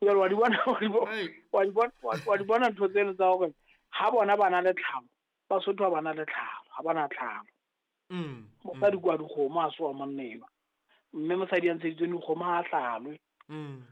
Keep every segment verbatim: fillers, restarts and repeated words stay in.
Jwale wa di bona wa di bona wa di bona ntho tseno tsa hore ha bona ba na le tlhalo, Basotho ha ba na le tlhalo, ha ba na tlhalo. Mm. Mosadi kwa dikgomo ha se wa monna enwa. Mme mosadi ya ntsheditsweng dikgomo ha hlalwe. Mm.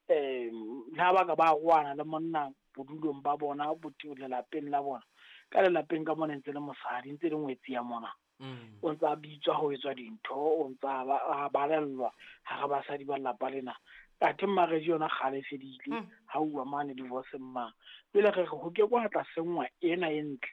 Um le ha ba ka ba roana le monna bodulong ba bona bo lelapeng la bona. Ka lelapeng ka mona ntse le mosadi, ntse le ngwetsi ya mona. Mm. O ntsa bitswa ho etswa dintho, o ntsa ba balellwa hara basadi ba lelapa lena. Athe marriage yona kgale e fedile, Mm. ha uwa mane divorce mang. Jwale re re ho ke kwa tla senngwa ena e ntle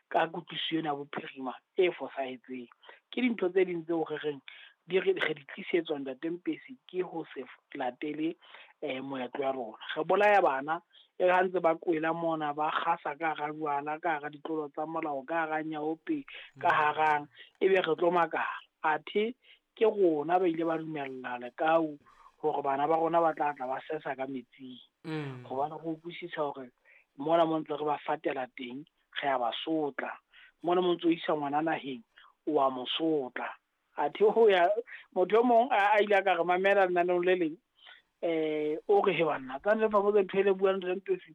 ka kutlwisiso ena ya bophirima e fosahetseng. Ke dintho tse ding tseo re reng di re re di tlisetswa Ntate Mpesi ke ho se latele eh moetlo ya rona. Re bolaya bana e ha ntse ba kwela mona ba kgasa ka hara jwala, ka hara ditlolo tsa molao, ka hara nyaope, ka harang, ebe re tlo makala. Athe ke rona ba ile ba dumella lekau hore bana ba rona ba tla tla ba sesa ka metsing. Mm. Hobane re utlwisisa hore mona mo ntse re ba fatela teng, re a ba sotla. Mona mo ntse o isa ngwana naheng, o a mo sotla. Athe ho ya motho e mong a ile a ka re mamela lenaneong le leng, eh o re he banna tsa le fa botse ntho e le buang le Mpesi.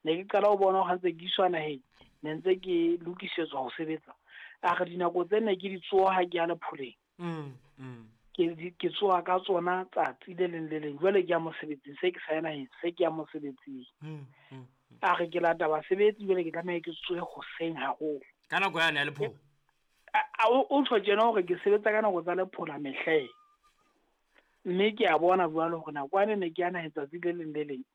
Ne ke qala ho bona ha ntse ke iswa naheng, ne ntse ke lokisetswa ho sebetsa. A re dinako tse ne ke di tsoha ha ke ya lepholeng. Mm, mm. Ke ke tsoha ka tsona tsatsi le leng le leng. Jwale ke ya mosebetsing, se ke sa ya naheng, se ke ya mosebetsing. Mm, mm, mm. A re ke lata basebetsi jwale ke tlameha ke tsohe hoseng haholo. Ka nako yane ya lephola. A o tjho tjena hore ke sebetsa ka nako tsa lephola mehleng. Mme ke a bona jwale hore nako ane ne ke ya naheng tsatsi le leng le leng.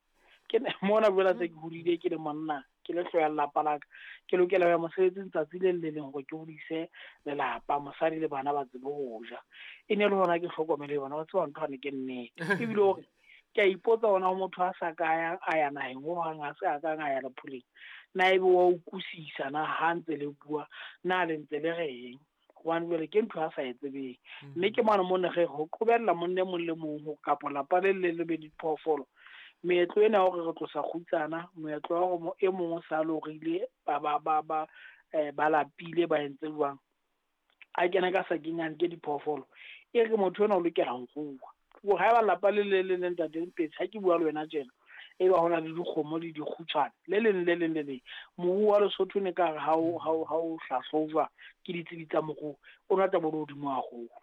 Ke mona jwale se ke hodile ke le monna, ke le hlooho ya lelapa la ka. Ke lokela ho ya mosebetsing tsatsi le leng le leng hore ke hodise lelapa, mosadi le bana ba tsebe ho ja. E ne le hona ke hlokomele bona, wa tseba ntho ane ke nnete. Ebile hore ke a ipotsa hona ho motho a sa ka ya a ya naheng hohang, a se a kang a ya lepholeng. Na ebe wa utlwisisa na ha ntse le bua, na le ntse le reng? Hobane jwale ke ntho a sa e tsebeng. Mme ke mona mo ne re ho qobella monna e mong le mong ho kapa lapa le le le be diphoofolo. Meetlo ena ya hore re tlosa kgutsana, moetlo wa hore e mong o sa lorile ba ba ba ba eh ba lapile ba entse jwang. A kena ka sakeng a nke diphoofolo. E re motho ena o lokela ho rua. Ho haeba lapa le le le Ntate Mpesi, ha ke bua le wena tjena, e ba hona le dikgomo le dikgutshwane le leng le leng le leng. Moruo wa Lesotho ne ka re ha o ha o ha o hlahlojwa ke ditsebi tsa moruo, o na tla bo le hodimo haholo.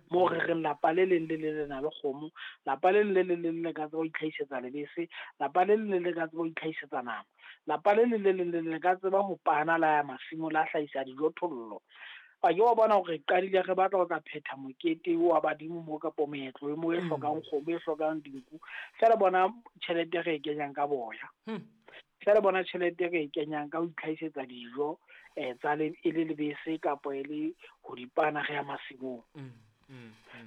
Moo re reng lapa le leng le le le na le kgomo, lapa le leng le leng le le ka tseba ho itlhahisetsa lebese, lapa le leng le le ka tseba ho itlhahisetsa nama, lapa le leng le leng le le ka tseba ho pana la ya masimo la hlahisa dijothollo. A ke wa bona hore re qadile re batla ho tla phetha mokete wa badimo mo kapo moetlo e mo e hlokang kgomo, e hlokang dinku. Feela bona tjhelete re e kenyang ka boya. Feela bona tjhelete re e kenyang ka ho itlhahisetsa dijo eh tsa le e le lebese kapo e le ho dipana re ya masimong.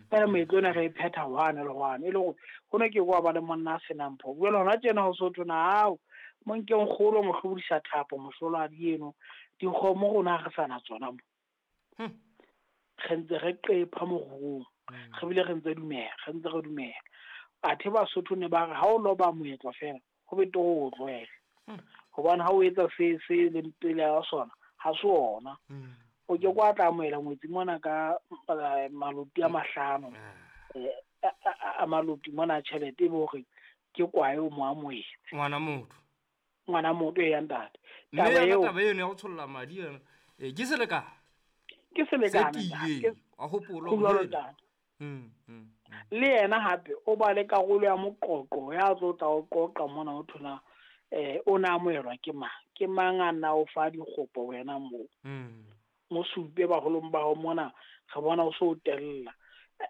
Feela moetlo ona re e phetha hwane le hwane. E le hore ho ne ke wa ba le monna a senang pho. Jwale hona tjena ho so thwe hao mo nkeng kgolo mo hlobodisa thapo mohloladi eno. Dikgomo rona ha re sa na tsona mo. Re ntse re qepha moruong, re bile re ntse dumela, re ntse re dumela. Athe Basotho ne ba re ha o loba moetlo feela, ho betere o tlohele. Hobane ha o etsa se se leng pele ya sona, ha se ona. O ke kwa tla amohela ngwetsi mona ka maloti a mahlano, eh a maloti mona tjhelete e be hore ke kwae o mo amohetse. Ngwana motho. Ngwana motho e ya ntate. Mme Taba yona eo taba eno ya ho tsholla madi yona, eh ke selekane. Ke selekane, Se ntate. tiileng, wa hopola Ho hore jwalo, hela. ntate. Mm, mm, mm. Le yena hape o ba le karolo ya moqoqo ya tlo tla o qoqa mona o thola eh o na amohelwa ke mang? Ke mang a na o fa dikgopo wena moo? Mm. Mo supe baholong ba hao mona, re bona o so o tella.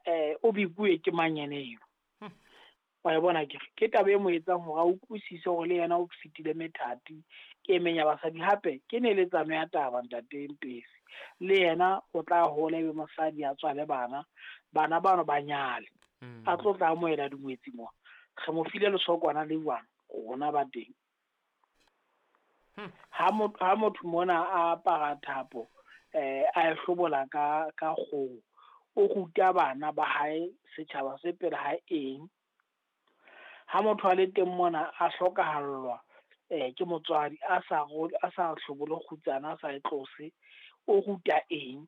Eh o bikuwe ke mang yena eno? Hmm. Wa e bona ke re, ke taba e mo etsang hore a utlwisise hore le yena o fetile methati e meng ya basadi. Hape ke neletsano ya taba Ntate Mpesi. Le yena o tla hola ebe mosadi a tswale bana, bana bano ba nyale. Hmm. A tlo tla amohela dingwetsi mo. Re mo file lesokwana le jwang, rona ba teng. Hmm. Ha motho, ha motho mona a apara thapo, eh a e hlobola ka, ka kgoho, o ruta bana ba hae setjhaba se pele hae eng? Ha motho a le teng mona a hlokahallwa eh ke motswadi a sa ro-, a sa hlobole kgutsana, a sa e tlose, o ruta eng?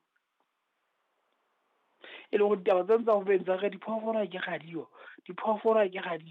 E le hore ditaba tsena tsa ho beng tsa re diphoofolo ha ke radio, diphoofolo ha ke radio.